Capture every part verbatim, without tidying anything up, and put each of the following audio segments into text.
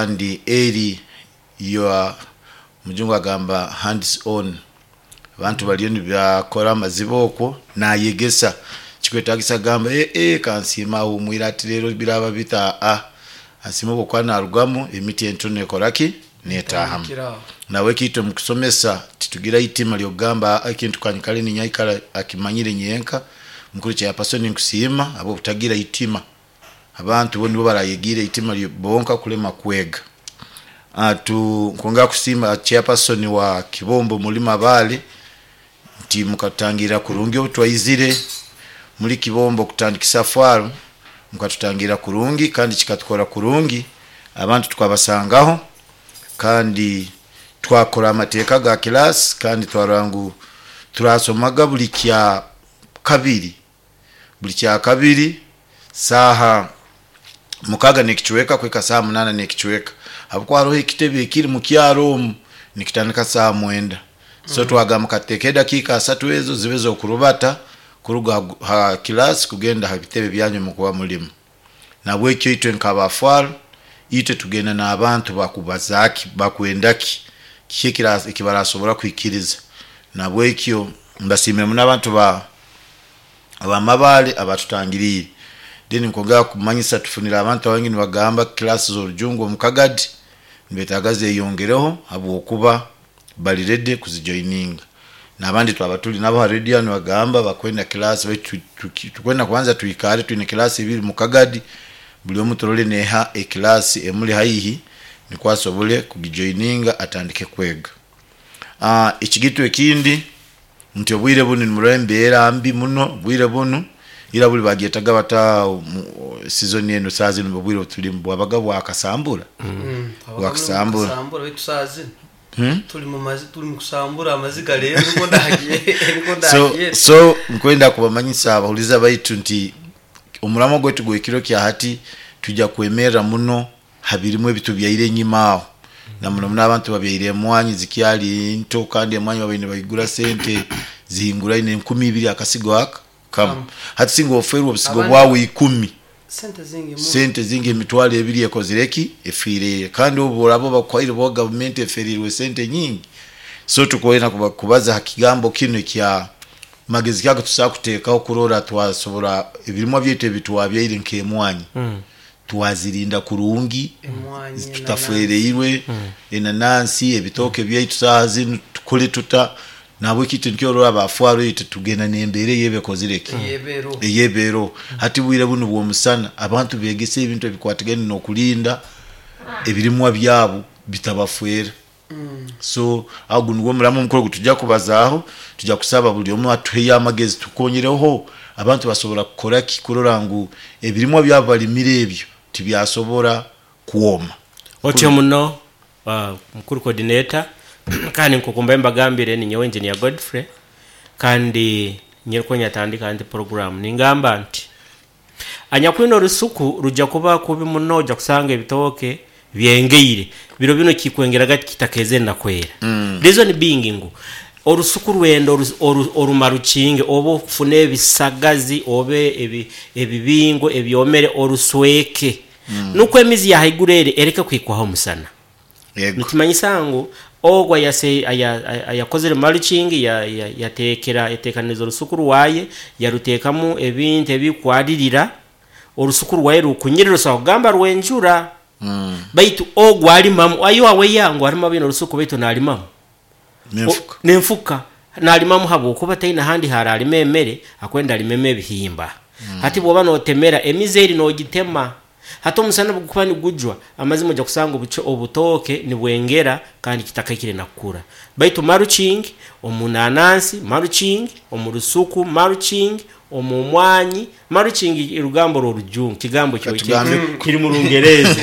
Kandi eri your mujungu agamba hands on, abantu baliyo nibakora amaziba okwo nayegesa kikwetagisa gamba eh eh kansiima ahumwire ati rero biraba bita a asiima obwokuba narugamu emiti entono ekoraki netahamu. Tandikira. Nawe kitwe mukusomesa titugira itima lyokugamba ekintu kanyikale ninyaikara akimanyire nyenka. Mukuru chairperson, nkusiima habwobutagira itima. Abantu bo nibo barayegiire itima lyo- bonka kulema kwega. Ah, tu nkwongera kusiima chairperson wa Kibombo muli Mabale nti mukatutangira kurungi obu twaizire muri Kibombo kutandikisa farm, mukatutangira kurungi kandi kikatukora kurungi. Abantu tukabasangaho kandi twakora amateeka ga class, kandi twarora ngu turasomaga buli kya kabiri, buli kya kabiri saaha mukaga nekichweka kweka saa munana nekichweka, habwokuba haroho ekitebe ekiri mukyaro omu nikitandika saa mwenda. So twagamba kateeke edakiika asatu ezo zibe zokurubata kuruga ha- ha kilasi kugenda ha bitebe byanyu mukuba mulimu. Nabwekyo itwe nk'abafwaro itwe tugenda n'abantu bakubazaki bakwendaki kiki ekira- ekibarasobora kwikiriza. Nabwekyo mbasiimire muno abantu ba abamabale abatutangiriire. Then nkwongera kumanyisa tufunire abantu abangi nibagamba kilasi z'orujungu omu Kagadi nibetaaga zeyongereho habwokuba bali ready kuzijoininga, n'abandi twaba tuli nabo ha radio nibagamba bakwenda kilasi, baitu tu- tukwenda kwanza twikare twine kilasi ibiri mu Kagadi, buli omu turole neha ekilasi emuli haihi nikwo asobole kugijoininga atandike kwega. Ah, ekigitu ekindi nti obwire bunu nimurora embeera mbi muno. Obwire bunu ira buli bagyetaga bata mu- season eno, saa zinu obwire obutulimu bwabaga bwakasambura. Mm. Bwakusambura. Kusambura, baitu saa zino Hmm? tuli mu mazi, tuli mu kusambura amaziga leero niko ndagiye niko so ndagiye. So nkwenda kubamanyisa abahuliza baitu nti omuramo gwaitu gwekiro kya hati tujja kwemerra muno habirimu ebitubyaire enyima aho, na muno muno abantu babyaire emwanyi zikyali nto, kandi emwanyi babaire nibayigura sente zihinguraine enkumi ibiri akasigo aka kamu. Hati singa oferwa obusigo Abandi- bwawe ikumi, sente zingi muno. Sente zingi, emitwalo ebiri ekozire ki efiire, kandi obu oraba bakwaire bo gavumenti eferirwe sente nyingi. So tukwenda kuba- kubaza ha kigambo kinu ekya magezi kyago tusobola kuteekaho kurora twasobora ebirimwa byaitu ebitwabyaire nk'emwanyi Mm. twazirinda kurungi Emwanyi, tutafereirwe, enanansi, ebitooke byaitu saaha zinu tukole tuta? Nabwe kitu nikyo orora abafwaro itwe tugenda n'embeera eyebekozire ki Yebero. Eyebero. Hati bwire bunu bw'omusana abantu begese ebintu ebikwatagane n'okulinda ebirimwa byabo bitabafwera. So aho guno nigwo omuramo omukuru gutujja kubazaaho. Tujja kusaba buli omu atuheyo amagezi, tukonyereho abantu basobora kukora ki kurora ngu ebirimwa byabo balimire ebyo tibyasobora kwoma. Otyo muno uh, mukuru coordinator, kandi nkukumba mbagambire ni nyowe Engineer Godfrey, kandi nyeriko nyatandika nti program ningamba nti anyakwina orusuku rujja kuba kubi muno, ojja kusanga ebitooke byengeire biro bino kikwengeraga kitakeze nakwera mm. Reason being ngu orusuku rwenda oru- oru- orumarukinge oba okufuna ebisagazi oba ebi- ebibingo ebyomere orusweke mm. Nukwo emizi yahaiguru ere ereke kwikwaho omusana. Yego. Nikimanyisa ngu ogwo ayase- aya- aya- ayakozere mulching, ya- ya- yatekera yateekaniza orusuku rwaye, yaruteekamu ebintu ebikwaririra orusuku rwaye rukunyirira rusobola kugamba rwenjura Mm. baitu ogwo alimamu ayo aweya ngu alimamu bino orusuku baitu nalimamu Nenfuka. O- nenfuka nalimamu habwokuba taina handi haralima emere, akwenda alimemu ebihimba mm. Hati bwoba notemera emizi eri nogitema, hati omusana bugukuba nigujwa amazima ojja kusanga obucho- obutooke nibwengera kandi kitakaikire nakukura. Baitu mulching omu nanansi, mulching omu rusuku, mulching omu mwanyi, mulching rugambo rw'orujungu, kigambo kyo Katugambe- kiri mu Rungereza,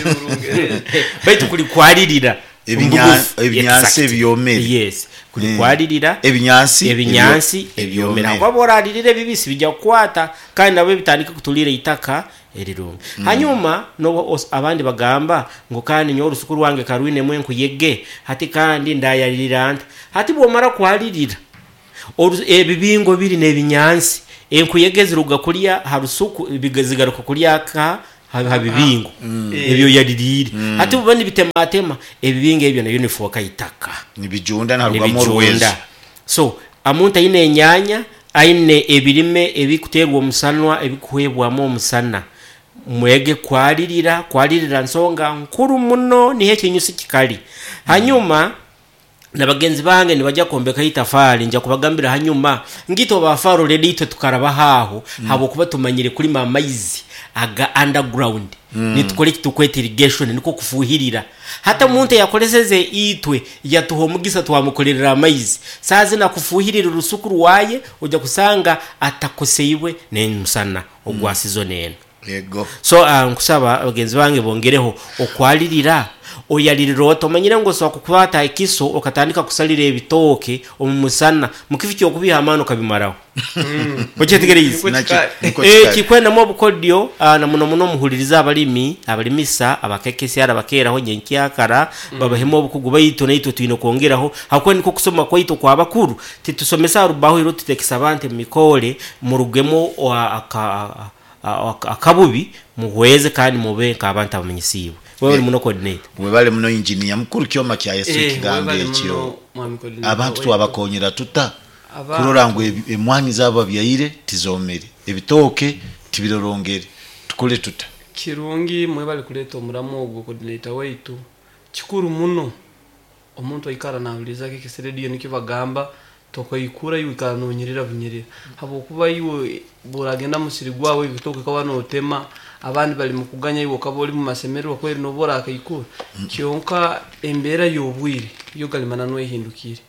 baitu kulikwaririra. Ebinya- Omubugufu. Ebinyansi Exact. ebyomere. Yes, kulikwaririra Ebinyansi ebinyansi ebyo- ebyomere, kuba oralirira ebibisi bijja kukwata kandi nabo bitandika kutulira itaka erirungi mm. Hanyuma nobo os- abandi bagamba ngu kandi nyowe orusuku rwange karwinemu enkuyege, hati kandi ndayalirira nta? Hati bwomara kwalirira oru- ebibingo biri n'ebinyansi, enkuyege ziruga kulya ha rusuku biga- zigaruka kulya ka ha bibingo Mm. ebyo yaliriire ate buba nibitematema ebibingo ebyo nayo nifuuka itaka nibijunda narugamu oruwezo nibijunda. So amuntu aine enyanya, aine ebirime ebikuterwa omusanwa, ebikuhebwamu omusana, mwege kwalirira. Kwalirira nsonga nkuru muno, niho ekinyusi kikali. Hanyuma na bagenzi bange nibajja kwombeka itafari, nja kubagambira hanyuma ngito bafaro redi itwe tukaraba haho mm. habwokuba tumanyire kulima amaizi aga underground mm. nitukora ekitukweta irrigation, niko kufuhirira. Hata omuntu yakoleseze itwe yatuha omugisa twamukolerera amaizi, saazi nakufuhirira orusuku rwaye, ojja kusanga atakoseibwe n'emusana ogwa season eno. Yego. So uh, nkusaba bagenzi bange bongereho okwalirira. Oyalirira ota? Omanyire ngu osobola kukwata ekiso okatandika kusalira ebitooke omu musana, mukifi kyokubiha amaani okabimaraho. Okyetegereize? Niko Nakyo- kikali. niko Eh, kikali. Kikwendamu obukodyo, ah, na muno muno muhuliriza abalimi, abalimisa abakekesi abakeraho nyenkyakara babahemu obukugu baitu, naitwe twine kwongeraho hakuba niko kusoma kwaitu kwa bakuru. Titusomesa arubaho iro tutekesa abantu emikole murugemo wa- aka- a- a- akabubi muhweze kandi mube nk'abantu abamanyisiibwe. Wewe uri muno coordinator. Webale muno injiniya mukuru kyoma kya Yesu. Eh, Ekigambo webale ekyo muno, mwami coordinator abantu waitu. Twabakonyera tuta Aba- kurora ngu ebi- emwanyi zabo babyaire tizomere, ebitooke tibirorongere? Tukole tuta? Kirungi, mwebale kuleeta omuramu ogwo, coordinator waitu. Kikuru muno omuntu aikara nahuliza K K S Radio, nikyo bagamba tokaikura iwe ikara nonyerera bunyerera, habwokuba iwe buragenda musiri gwawe ebitooke kaba notema, abandi bali mukuganya, iwe okaba oli mumasemererwa kweri noba orakaikura. Kyonka embeera y'obwire yo galimana nwehindukire.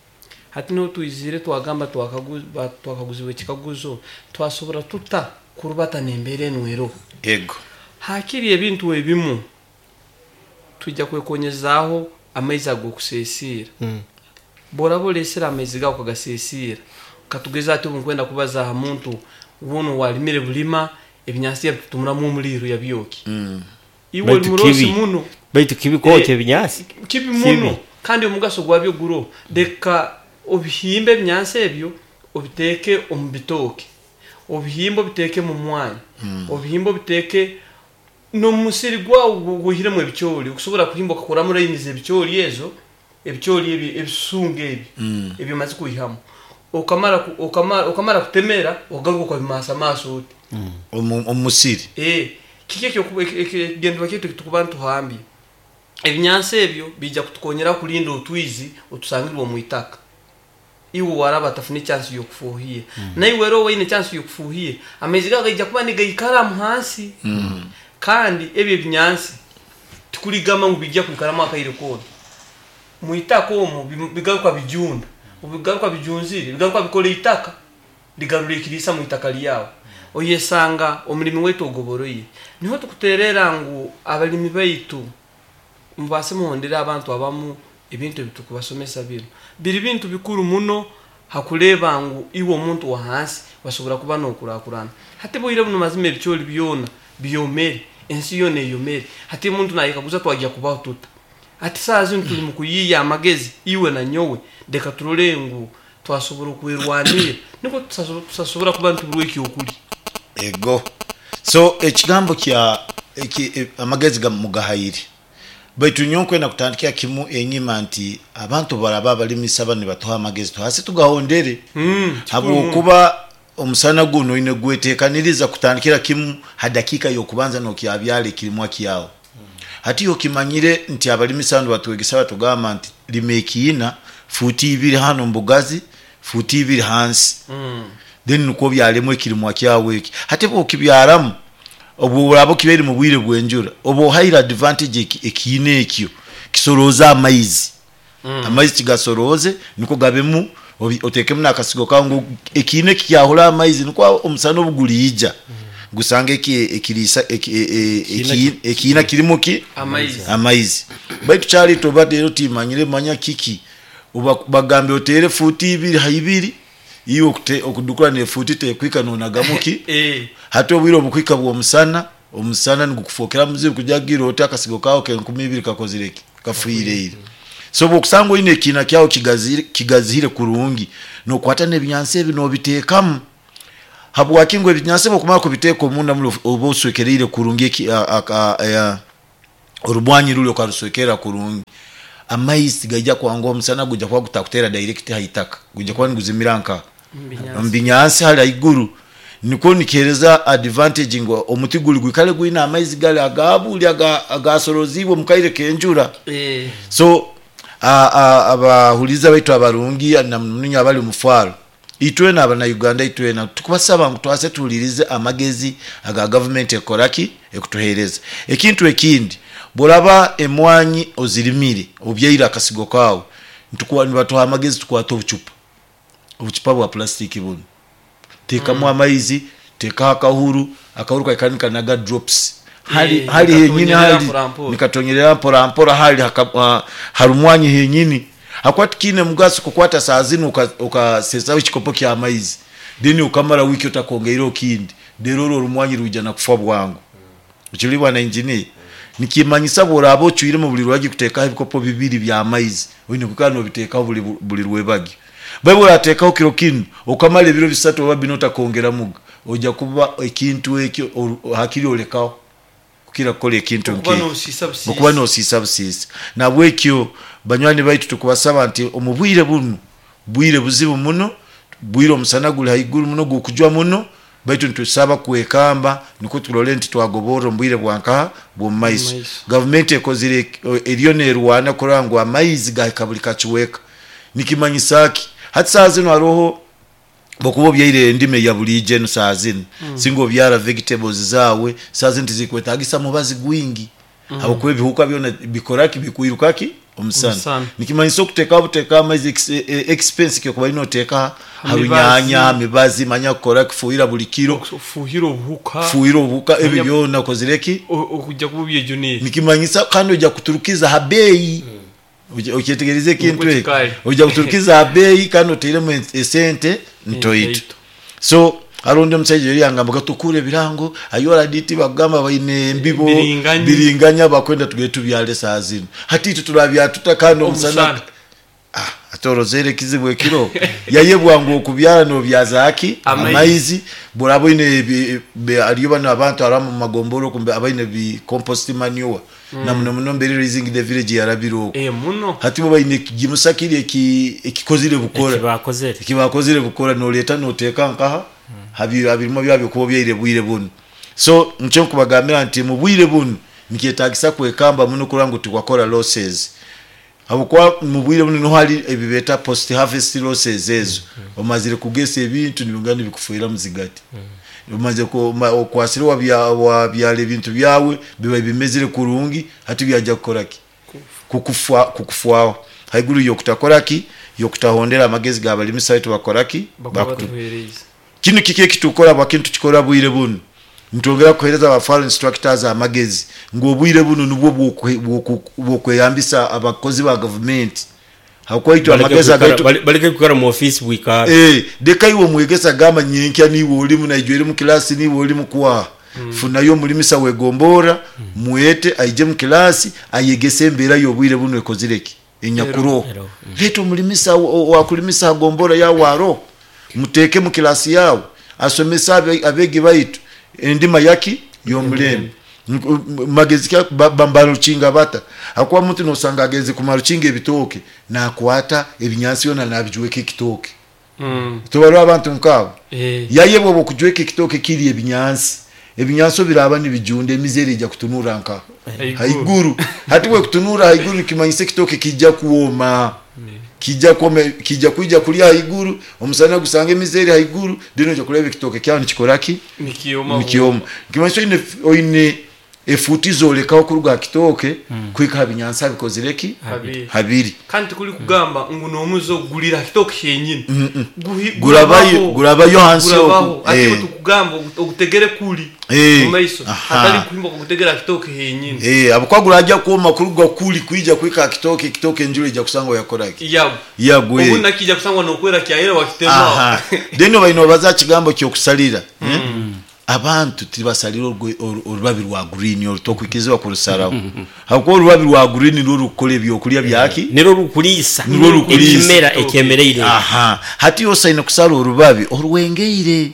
Hati niho twizire twagamba twakagu- ba- twakaguzibwa ekikaguzo, twasobora tuta kurubata n'embeera enu eroho? Ego. Hakiri ebintu ebimu tujja kwekonyezaaho amaizi ag'okuseesiira. Bworaba olesere amaizi gawe okagaseesiira, katugeze ati obu nkwenda kubaza aha muntu wuno walimire bulima ebinyansi yabitutumuramu omuliro yabyoki, iwe oli Baitu murosi kibi. muno. Baitu kibi kwokya Eh, ebinyaasi. Kibi muno, kandi omugaso gwabyo guro leka obihimbe ebinyansi ebyo obiteeke omu bitooke, obihimbe obiteeke mu mwanya, obihimbe obiteeke n'omusiri gwawe gwihiremu ebikyoli. Okusobola kuhimba okakoramu layini z'ebikyoli ezo, ebikyoli ebi ebisunga ebi ebyo omaze kwihamu, okamara ku- okamara okamara kutemera, ogaruka okabimasa maaso oti Omu- omusiri. Eh, kiki ekigendwa kyaitu ekitukuba ntuhambye ebinyansi ebyo bijja kutukonyera kulinda otwizi otusangirwe omu itaka. Iwe waraba atafuna echansi yokufuhia, naiwe era owaine echansi yokufuhia, amaizi gago gaija kuba nigaikaramu hansi. Kandi ebyo ebinyansi tikuligamba ngu bijja kwikaramu akaire koona mwitaka omwo, bi- bigaruka bijunda. Obigaruka bijunzire, bigaruka bikola itaka, ligarura ekiriisa mu itaka lyawe. Oyesanga omulimi waitu ogoboroire. Niho tukuterera ngu abalimi baitu mubase muhondere abantu abamu ebintu ebitukubasomesa. Bino biri bintu bikuru muno hakureeba ngu iwe omuntu wa hansi wasobora kuba nokurakurana. Hati bwire buno mazima ebikyoli byona byomere, ensi yona eyomere. Hati omuntu nayekaguza twajya kubaho tuta? Ati saa zino tuli mukuyiya amagezi, iwe na nyowe, leka turole ngu twasobora okwerwanira, niko tusaso- tusasobora kuba nituburwa ekyokuli. Ego, so ekigambo kya eki, e, amagezi ga mugahayire, baitu nyowe nkwenda kutandikira kimu enyima nti abantu baraba abalimisa bano nibatuha amagezi, tuhasi tugahondere, Mm, habwokuba omusana guno oine gwetekaniriza kutandikira kimu ha dakika y'okubanza nokyabyala ekirimwa kyawe. Hati okimanyire nti abalimisa bano batwegesa, batugamba nti lima ekiina fuuti ibiri hano mbugazi, fuuti ibiri hansi, Mm. then nukwo byalemu ekirimwa kyawe eki. Hati bwokibyaramu, obwo oraba okibaire mu bwire bw'enjura, oba ohaire advantage eki- ekiina ekyo kisorooze amaizi. Amaizi kigasorooze niko gabemu, obi- otekemu nakasigo kawe ngu ekiina eki kyahura amaizi, nikwo omusana obuguliija gusanga eki ekiriisa eki- e- e- eki- ekiina kirimu ki? Amaizi. Amaizi. Baitu kyali toba rero timanyire manya kiki, uba bagambe otere futi ibiri ha ibiri, iwe okute- okudukura ne futi tekwika nonagamu ki? Eh, hati obwire obukwika bw'omusana, omusana nigukufokera muzibu kujagira oti akasigo kawe kenkumi ibiri kakozire ki? Kafuireire. So bwokusanga oine ekiina kyawe kigazire, kigazire kurungi, nokwata n'ebinyansi ebi nobiteekamu. Habwaki ngo ebinyansi bokumara kubiteeka omunda muli oba oswekereire kurungi eki- a- a- a- orubwanyi ruli okaruswekera kurungi, amaizi gaija kwanga omusana gujja kuba gutakutera direct haitaka, gujja kuba niguzimira nka Mbinyansi. mbinyansi hali haiguru. Nikwo nikihereza advantage ngo omuti guli gwikale gwina amaizi gali agabuli aga- agasorozibwe mukaire kenjura. Eh, So a- a- abahuliza baitu abarungi namuninyo abali mufaro, itwena abana Uganda, itwena tukubasaba ngu twase tuhulirize amagezi aga gavumenti ekoraki ekutuhereza. Ekintu ekindi, boraba emwanyi ozirimire obyaire akasigo kawe, nitukuwa nibatuha amagezi tukwata obucupa obucupa bwa plastiki buno, tekamu amaizi, tekaho akahuru, akahuru kaikani kanaga drops hali Eh, hali henyini nikatonyerera hali mpora mpora. nikatonyerera mpora mpora hali haka- ha- harumwanyi henyini. Hakwati kine mugaso kukwata saa zinu ukasesaho ekikopo kya maizi, then ukamara wiki utakongeire okindi, rero orwo orumwanyi rwija na kufa bwangu. Ekiri bwana engineer, nikimanyisa bworaba ocwiremu buli rwagi kutekaho ebikopo bibiri bya maizi, oine kukana nobitekaho buli buli rwebagi. Baibu oratekaho kiro kinu okamara ebiro bisatu oba bina otakongeramuga, ojja kuba ekintu ekyo oru- hakiri olekaho kukira kukora ekintu okuba nk'ekyo nosiisa busiisa. okuba nosiisa busiisa. Nabwekyo banywani baitu tukubasaba nti omu bwire buno, bwire buzibu muno, bwire omusana guli haiguru muno, gukujwa muno, baitu nitusaba kwekamba nikwo turole nti twagoborra omu bwire bwankaha bw'omu maiso. Mumaiso. Gavumenti ekozire eriyo nerwana kurora ngu amaizi gahika buli kakiweka. Nikimanyisa ki? Hati saa zino haroho bokuba obyaire endimi eya bulijo enu saa zino, mm. singa obyara vegetables zawe saa zino tizikwetagisa mubazi gwingi, mm. habwokuba ebihuka byona bikoraki bikwirukaki omusana. Omusana. Nikimanyisa okutekaho butekaho amaizi ex- e- expense kyokuba ino oteka harunyanya, hamibazi, manya kukora kifuhira buli kiro, Fuhira obuhuka. Fuhira obuhuka ebyo Manya- byona okozireki. O- okujja kuba obyejunire. Nikimanyisa kandi ojja kuturukiza ha beeyi. Oje- okyetegereza ekintu Nukwo ekyo? kikali. Ojja kuturukiza ha beeyi kandi oteiremu esente ntoito. Ntoito. So harundi omushaija yari yangamba tukure ebirango ayoraditi bagamba baine embibo Biringanya. biringanya bakwenda tugende tubyale saa zino, hati itwe turabyatuta kandi omusana. Omusana. Ah, ate orozere ekizibu ekiro yayebwa ngu okubyara nobyaza aki? Amaizi. Amaizi. Boraba oine ebi- be- hariyo bano abantu aramu mumagomboro kumbe abaine bi compost manure, na muno muno mbere Raising the Village yarabire okwo. Eh, muno. Hati bo baine ekigimusa kiri eki- ekikozire bukora. Ekibakozere. Ekibakozire bukora, noleta noteka nkaha habi abirimo byabyo kuba byaire bwire buno. So nkyo nkubagambira nti mu bwire buno nikyetagisa kwekamba muno kurora ngu tiwakora losses, habwokuba mu bwire buno niho hari ebibeta post harvest losses ezo. Omazire kugesa ebintu nibingana nibikufuira muzigati, omaze ku- ma- okwasire wabya- wabyala ebintu byawe biba bimezire kurungi, hati byajja kukoraki? Kukufa, kukufwaho haiguru yokutakoraki yokutahondera amagezi gabalimisa baitu bakoraki Bakuba bakutu- batuhereza. Kino kiki ekitukora bwakintu tukikora bwire buno? Nitwongera kuhereza aba farm instructors amagezi ngu obwire buno nubwo bwokwe- bwoku- bwokweyambisa abakozi ba gavumenti, hakuba itwe amagezi agaitu Baleke kwikara mu ofisi bwikara. Eh, leka iwe omwegesa gamba nyenkya niwe olimu naijwe eri mu kilasi niwe olimu kwaha, funayo omulimisa wegombora, mwete aije mu kilasi ayegese embeera y'obwire buno ekozireki enyakuroho. Ero. Leta omulimisa wakulimisa agombora yawe aro muteeke mu kilasi yawe asomese abe- abegi baitu endima yaki y'omulembe. Magezi ka ba- ba- barukinga bata? Hakuba muntu nosanga agenze kumarukinga ebitooke nakwata ebinyansi byona nabijweka ekitooke. Mm. Tubarwa abantu nkabo. Eh, Yayebwa bwokujweka ekitooke kiri ebinyansi, ebinyansi biraba nibijunda, emizere ijja kutunura nka Haiguru. haiguru. Hati bwe kutunura haiguru nikimanyisa ekitooke kijja kuwoma, kijja kuwoma, kijja kuija kulya haiguru, omusana gusanga emizere haiguru, then ojja kuleba ekitooke kyawe nikikoraki? Nikioma. Nikioma. Nikimanyisa oine oine efuti zolekaho kuruga ha kitooke kuhika ha binyansi abikozireki? Habiri. Habiri. Kandi tikuri kugamba ngu n'omuze ogulira kitooke kyenyini. Guhi- Gurabayo gurabaho. gurabayo hansi Gurabaho. oku. Ati Eh. tukugamba ogutegere kuli Eh, mu maiso, aha. hatari kuhimba kugutegera kitooke henyini. Eh, abukwa gurajya kuoma kuruga kuli kwija kuhika ha kitooke, ekitooke enjura ijja kusanga yakoraki? Yabo. Yagwe. Obu nakija kusangwa nokwera kyayera wakitema. Aha, then baino baza kigambo kyokusalira, eh? Abantu tibasalira orwe- oru- orubabi rwa green orutokwikizibwa kurusaraho, hakuba orubabi rwa green nirwo rukukora ebyokulya byaki? Nirwo rukulisa. Nirwo rukulisa. Ekimera ekyemereire. Aha, hati yosaine kusala orubabi orwengeire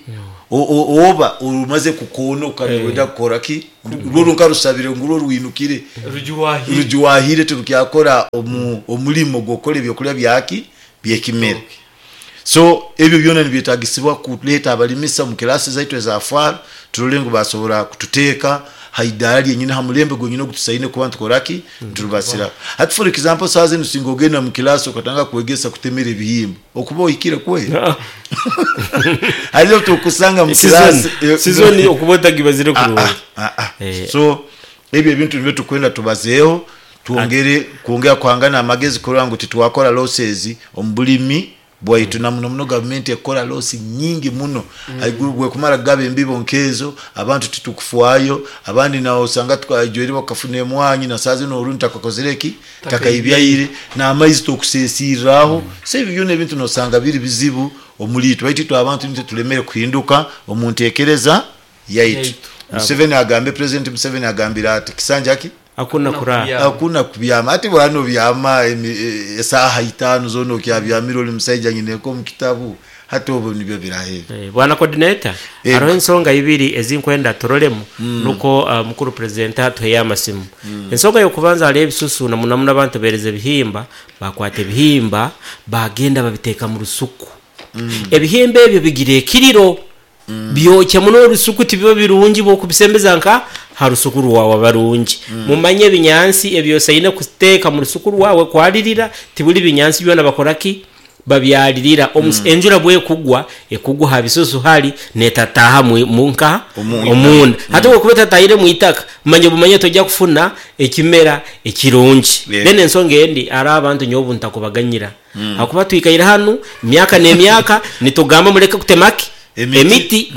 O- o- oba orumaze kukonoka niwenda kukora ki rwo runkarusabire ngu rwo rwinukire rujuwahire rujuwahire turukyakora omu omulimo gwokora ebyokulya byaki byekimera. So ebyo byona nibyetagisibwa kuleta abalimisa mu kilasi zaitu eza FAR, turole ngu basobora kututeeka haidara lyenyine ha mulembe gwenyine ogutusaine kuba ntukoraki nturubasira. Hati for example, saa zinu singa ogenda mu kilasi okatanga kwegesa kutemera ebihimba, okuba ohikire kwe hariyo tukusanga mu kilasi Season- season okuba otagibazire Ah, kurungi. ah, ah, ah. Eh. So ebyo ebintu nibyo tukwenda tubazeeho, twongere kwongera kuhangana amagezi kurora ngu titwakora losses omu bulimi bwaitu, na muno muno gavumenti ekora losi nyingi muno haiguru bwekumara kugaba embibo nkezo, abantu titukufwayo, abandi nawe osanga tukajwere bakafuna emwanyi na saa zino orundi takakozere ki takaibyaire n'amaizi tokusesirraho. So ebyo byona ebintu nosanga biri bizibu omuli itwe, baitu itwe abantu nitwe tulemere kuhinduka omu ntekereza yaitu. Yaitu. Museveni agambe, President Museveni agambire ati kisanja ki Hakuna kurara. Kubyama. Hakuna kubyama. Ati bwana byama emi- e- esaha itano zona okyabyamira oli musaija nyineko mu kitabu, hati obwo nibyo birahebe. Eh, bwana coordinator, Eh. hariho ensonga ibiri ezinkwenda turolemu nuko uh, mukuru president atuheye amasimu. Ensonga yokubanza, hariho ebisusu na muno muno abantu bereza ebihimba, bakwata ebihimba bagenda babiteeka mu rusuku. Ebihimba ebyo bigira ekiriro, byokya muno orusuku, tibiba birungi bwokubisembeza nka ha rusuku rwawe. Barungi mumanye ebinyansi ebyosaine kuteeka mu rusuku rwawe kwalirira, tibuli binyansi byona bakoraki babyalirira. Omus- enjura bwekugwa ekugwa ha bisusu hali netataha mu- munka Omunda. Omunda. Hati bwekuba etatahire mu itaka, manye bumanye tojja kufuna ekimera ekirungi. Yeah. Then ensonga endi, ari abantu nyobu ntakubaganyira hakuba twikaire hanu myaka n'emyaka nitugamba muleke kutemaki Emiti. Emiti.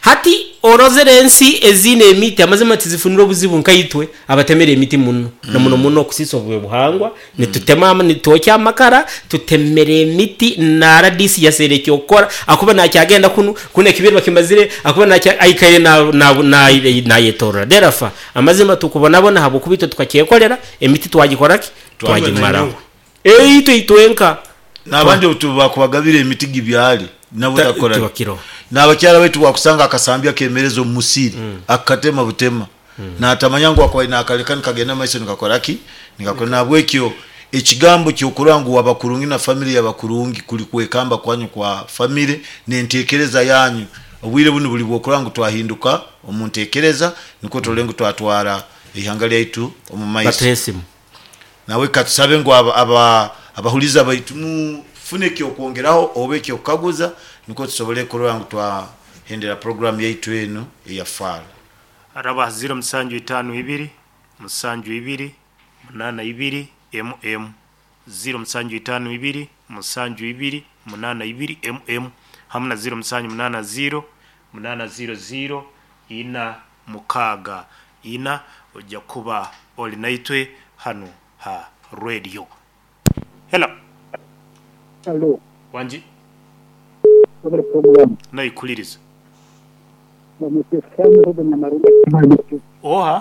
Hati orozere ensi ezine emiti, amazima tizifunire obuzibu nkaitwe abatemera emiti muno na muno muno okusisa obwe buhangwa. Nitutema ama- nitwokya amakara, tutemera emiti na R D C yasere ekyokukora akuba nakyagenda kunu kuno ekibiri bakimazire akuba nakya aikaire na na na nayetorora derafa. Amazima tukubonabona habwokuba itwe tukakyekolera emiti twagikoraki twagimaraho eitwe itwenka. N'abandi bakubagabira emiti gibyali nabo takora. Tibakiro. N'abakyala baitu wakusanga akasambya kemereza omu musiri, akatema butema natamanya ngu akwaye nakaleka nikagenda maiso nikakoraki nikakora. Nabwekyo ekigambo kyokurora ngu wabakurungi na family yabakurungi kuli kwekamba kwanyu kwa family nentekereza yanyu. Obwire buno buli bwokurora ngu twahinduka omu ntekereza, nikwo turole ngu twatwara ihanga lyaitu omu maiso. Batuhe esimu. Nawe katusabe ngu aba, aba, abahuliza baitu mufune ekyokwongeraho oba ekyokukaguza, nikwo tusobole kurora ngu twahendera program yaitu eno eya FAR. Araba ziro musanju itano ibiri musanju ibiri munana ibiri mm ziro musanju itano ibiri musanju ibiri munana ibiri mm hamwe na ziro musanju munana ziro munana ziro ziro ina mukaga ina. Ojja kuba oli naitwe hano ha radio. Hello. Hello, wanji. Sobre program. Naikuliriza. Bamutesana Ruben Namarunga. Oha.